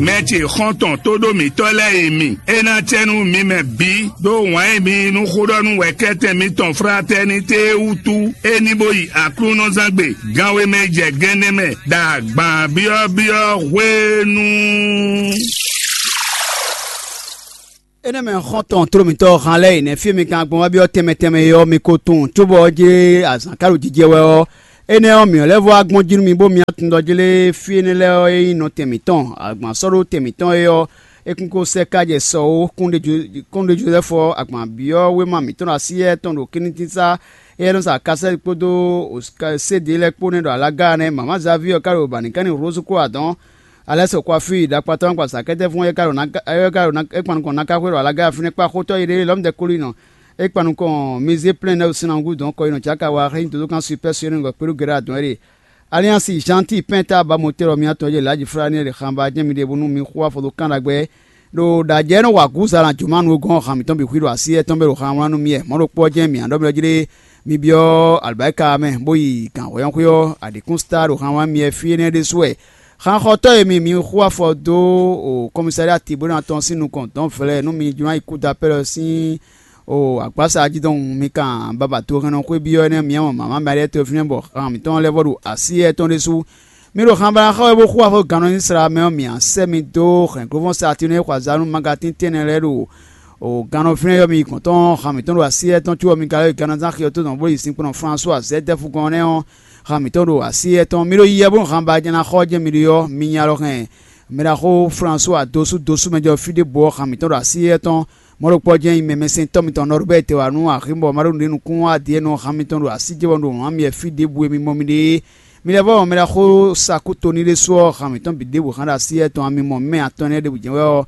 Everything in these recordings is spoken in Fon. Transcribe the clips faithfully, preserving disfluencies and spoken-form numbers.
Mɛ ce xɔ́ntɔn tóɖó mǐtɔn lɛ́ɛ e mi, é ná cɛ nú mi mɛ bǐ ɖó wǎn e mi yí nú xóɖɔ́nú wɛ̌kɛ́tɛn mitɔn Fratɛnitée wútu, é ní bó yi Aklúnɔzángbe ganwe mɛ jɛ gɛ́nɛ́ mɛ ɖo agban byɔ́byɔ́ hwenu. Énɛ́ mɛ xɔ́ntɔn tló mǐtɔn han lɛ́ɛ yi nɛ́ fí e mi kan gbɔn wá byɔ́ tɛnmɛ tɛnmɛ é ɔ́, mi ko tunwun, cóbɔ ɔ́ jlé azǎn ka ɖo jijɛ wɛ ɔ́, énɛ́ ɔ́, mǐ ɔ́ lɛ́ vɔ́ wá gbɔn jí nú mi, bó mi wá tunwun ɖɔ jlé fí énɛ́ lɛ́ɛ ɔ́ é nyí nɔ tɛn mǐtɔn. Agban sɔ́ ɖó tɛn mǐtɔn é ɔ́, é kún ko sɛ́ ká jɛ sɔ ó. Kúnɖé Jozɛ́fu ɔ́, agban byɔ́ wéma mǐtɔn ɖo asyá tɔn ɖo kɛ́ntínsá éyɛ́ nɔ sa kasɛ́ kpódó sédě lɛ́ɛ kpó nɛ́ ɖo alága nɛ́. Mama Zavíɔ ka ɖo bǎnǐkánní Rózu kó adɔ̌n. Alɛ́ sɔkɔ́ afí ɖakpatɔ́ ɔ́ kpa sa kɛ́tɛ́ fún é ka ɖo é kpa nukɔn ná ká xwé ɖo alága fínɛ́ kpa xótɔ́ yi ɖé lɔ̌mɛ dɛ kolínɔ. É kpa nukɔn mizé plɛ́n nɛ́ sinangu dɔn kɔ yi nɔ cǎ ka wa xlɛ́ nyi dodókan supɛ́ sɔ́ nukɔn kpéɖó gɛɖá dɔn é ɖe. Aliansi Janti pɛ́n ta ba motɛ́ lɔ mǐtɔn e lě Laji Flani e lě xan ba jɛ́n mi ɖe bónú mi xo afɔ dó kán ɖagbe ɖo ɖajɛ nɔ wa gǔza lan jǒmanu e gɔ́n han mǐtɔn bǐ xwí ɖo así etɔn bɛ ɖo han wlán nú mì wɛ. Mɔ̌ ɖokpó ɔ́ jɛ́n mǐ a ɖɔ mì ɔ́ jí ɖé mi byɔ́ alɔbáyika mɛ bó yi gǎn hwɛ́yɔ́nxwé ɔ́ aɖǐkúnsa ɖo han wlán mì wɛ fí énɛ́ ɖésú wɛ. Xanxɔtɔ́ e mi mi xo afɔ dó o kɔmísália Tibóna tɔn sín nukɔn dɔ̌n vlɛ́ nú mi jló ná yi kúdapɛ́ lɔ sín o agbǎsa jí dɔn mi kan babató hɛnnɔ xwé byɔ́ énɛ́ mi mɔ mama Malia tɔ́ fínɛ́ bɔ han mǐtɔn lɛ́ vɔ ɖo así etɔn ɖésú. Mi ɖo xanbaláxá wɛ bó xú afɔ gannɔ ní sla mɛ ɔ́, mǐ á sɛ́ mi dó hɛ̌nglóvɔ́n Saatúnɛ e xɔ azǎn nú magatín tɛ́nnɛ lɛ́ɛ ɖo o gannɔ fínɛ́ yɔ́ mi yi gɔ̌n tɔn. Han mǐtɔn ɖo así etɔn có ɔ́, mi ka lɛ́ yi gannɔzán xi ɔ́ tó dɔn bó yi sinkplɔ́n Flasuwa Zɛ́dɛ́fu gɔ́n nɛ́ ɔ́, han mǐtɔn ɖo así etɔn. Mi ɖo yiyɛ bónú han ba ná xɔ jɛ́n mi ɖe ɔ́, mi nyi alɔ hɛn mɛɖaxó Flasuwa dosú dosú mɛ jɔ fí ɖěbǔ ɔ́, han mǐtɔn ɖo así etɔn. Mɔ̌ ɖokpɔ́ jɛ́n nyi mɛmɛsɛntɔ́ mitɔn Nɔrubɛ́ti wá nú axi bɔ ma ɖó nǔɖé nukún wá din e nɔ han mitɔn ɖo así jɛ bɔ un ɖo wǎn mi wɛ fí ɖěbǔ e mi mɔ mi ɖe é. Mi lɛ́ vɔ́ mɔ mɛ ɖaxó Sakutonilesú ɔ́, han mǐtɔn bǐ ɖěbǔ hán ɖo así etɔn a mi mɔ mɛ atɔn énɛ́ ɖěbǔ jɛ́n wɛ ɔ́,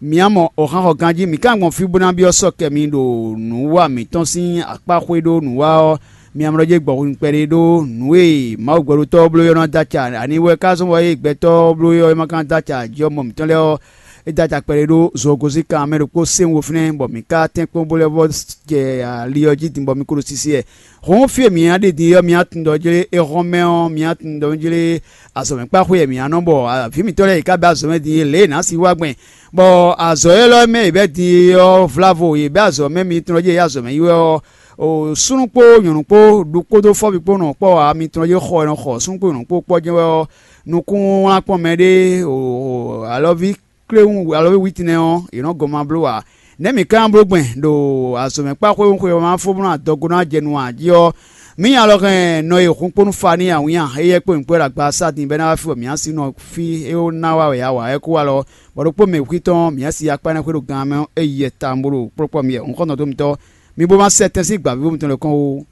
mi á mɔ oxán xɔ ganjí. Mǐ ka gbɔn fí bó ná byɔ́ sɔ́ kɛ mi ɖo nǔwa mǐtɔn sín akpá xwé ɖó nǔwa ɔ́, mi amlɔ jɛ gbɔ hun kpɛɖé ɖó nǔ e Mawu gbɛɖotɔ́ ɔ́ bló é ɔ́ ná dó acɛ. Ani wɛ ka zɔ́n bɔ é gbɛtɔ́ ɔ́ bló é ɔ́, é ma ka dó acɛ jí ɔ́ mɔ mǐtɔn lɛ́ɛ ɔ́, é dó acɛ kpɛɖé ɖó zogozín kan mɛ ɖokpó sɛ́n wo fínɛ́, bɔ mǐ ka tɛ́nkpɔ́n bó lɛ́ vɔ́ jɛ ali ɔ́ jí din bɔ mi ko ɖo sisi wɛ. Hǔn fí e mǐ ná ɖe din é ɔ́, mi ná tunwun ɖɔ jlé é hɔn mɛ ɔ́, mi ná tunwun ɖɔ jlé azɔ̌mɛkpáxwé e mǐ ná nɔ, bɔ vǐ mǐtɔn lɛ́ɛ yě ká bɛ́ azɔ̌mɛ din é lě e nǎ si wá gbɛn, bɔ azɔ̌ élɔ́ mɛ yě bɛ́ din é ɔ́ vlávo, yě bɛ́ azɔ̌mɛ mitɔn ɖɔ jlé yě azɔ̌mɛ yi wɛ ɔ́, o súnnu kpó nyɔ̌nu kpó ɖu kpódó fɔ́vi kpó nɔ kpɔ́ ǎ. Mitɔn ɖɔ jlé xɔ e nɔ xɔ súnnu kpó nyɔ̌nu kpó kpɔ́ jɛ́n wɛ ɔ́, nukún wlán kpɔ́n mɛ ɖé o alɔví kléwún alɔví wítínɛ ɔ́, yě nɔ gɔn ma bló ǎ. Nɛ̌ mǐ ka ná bló gbɛn ɖo azɔ̌mɛkpáxwé xwe ɔ́ ma fó bó ná adɔgo ná jɛ nu ǎ jí ɔ́, mǐ nya lɔ hɛn nɔ e hun kpó nú fa n'i awǐnnya éyɛ́ kpó nyǐkɔ e ɖo agba sá din bɔ é ná wá fí bɔ mǐ ná sí nɔ fí é ó ná wá wɛ a wa é kó wá lɔ, bɔ ɖokpó mɛ wǔxwítɔ́ ɔ́, mǐ ná sí akpá énɛ́ xwé ɖo gan mɛ ɔ́, é yi yɛ tawun bó ɖo kplɔ́kpɔ́ mi wɛ. Un xɔ́ntɔn dó mitɔ́, mi bó má sɛ tɛ́n sín gbǎvíbú mitɔn lɛ́ɛ kɔn ó.